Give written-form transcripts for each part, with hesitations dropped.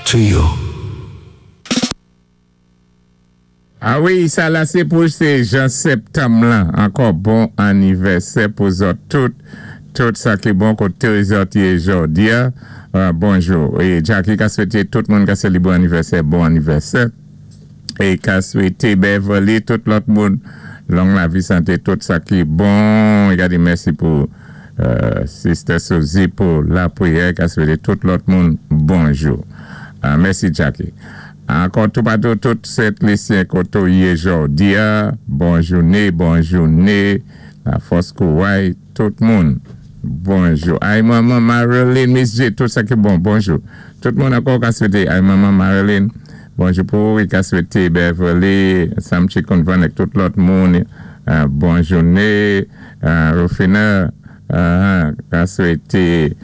To you. A wi, sa la sé pou sé jan septanm lan. Ankò bon anivèsè pou zòt tout. Tout sa ki bon koté zòt yé jòdi a. Bonjou. É Jackie ka swété tout moun ka sélibwé anivèsè bon anivèsè. É ka swété Beverly, tout lòt moun long lavi, santé, tout sa ki bon. É ka di mèsi pou Sister Suzy pou lapriyè. Ka swété tout lòt moun bonjou. Mèsi, Jackie. Ankò toupatou tout Sent Lisyen koto yé jòdi a, bon jouné, bon jouné, lafòs, kouway, tout moun. Bonjou. Ay manman Marilyn, Miss J, tout sa ki bon, bonjou. Tout moun ankò ka swété ay manman Marilyn, bonjou pou ou, ka swété Beverly, Samchi Convan ak tout lòt moun, bon jouné, Rufina, ka swété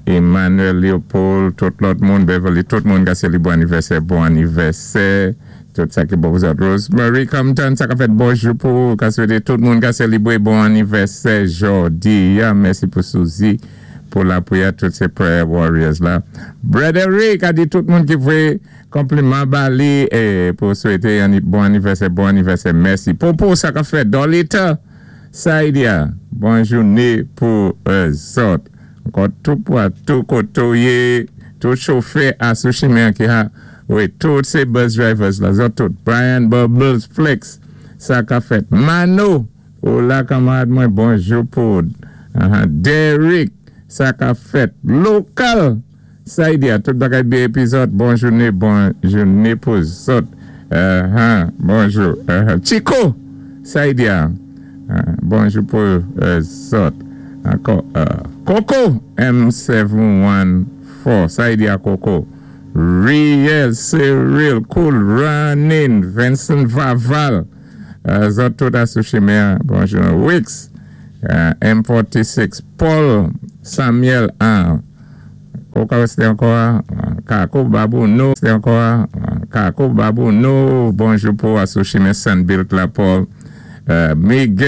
Emmanuel Léopold, tout lòt moun, Beverly, tout moun ka sélibwé anivèsè, bon anivèsè, tout sa ki bon pou zòt. Rosemary Compton, sa ka fèt, bonjou pou ou, ka swété tout moun ka sélibwé bon anivèsè jòdi a. Mèsi pou Suzy, pou lapriyè, tout sé prayer warriors la. Brother Rick a di tout moun ki vwé konpliman ba li é pou swété bon anivèsè, bon anivèsè, mèsi. Popo, sa ka fèt, Dolita, Saidia, bon jouné pou zòt. Ankò tout patou koto yé, tout chofè a sou chimen ki ha, wi, tout sé bus drivers la, zòt tout. Brian Bubbles Flex, sa ka fèt. Mano, ola kanmarad mwen, bonjou pou Derrick, sa ka fèt. Lokal, Saidia, tout bagay byen épi zòt, bon jouné, bon jouné pou zòt. Bonjou. Chico, Saidia, bonjou pou zòt. Ankò, Coco, M714, Saidia Coco. Real, Cyril, Cool Running, Vincent Vaval, zòt tout a sou chimen, bonjou. Wix, M46, Paul Samuel 1, Koka sé ankò, Kako Babou no, sé ankò, Kako Babou no, bonjou pou a sou chimen Sunbuilt la, Paul. Miguel.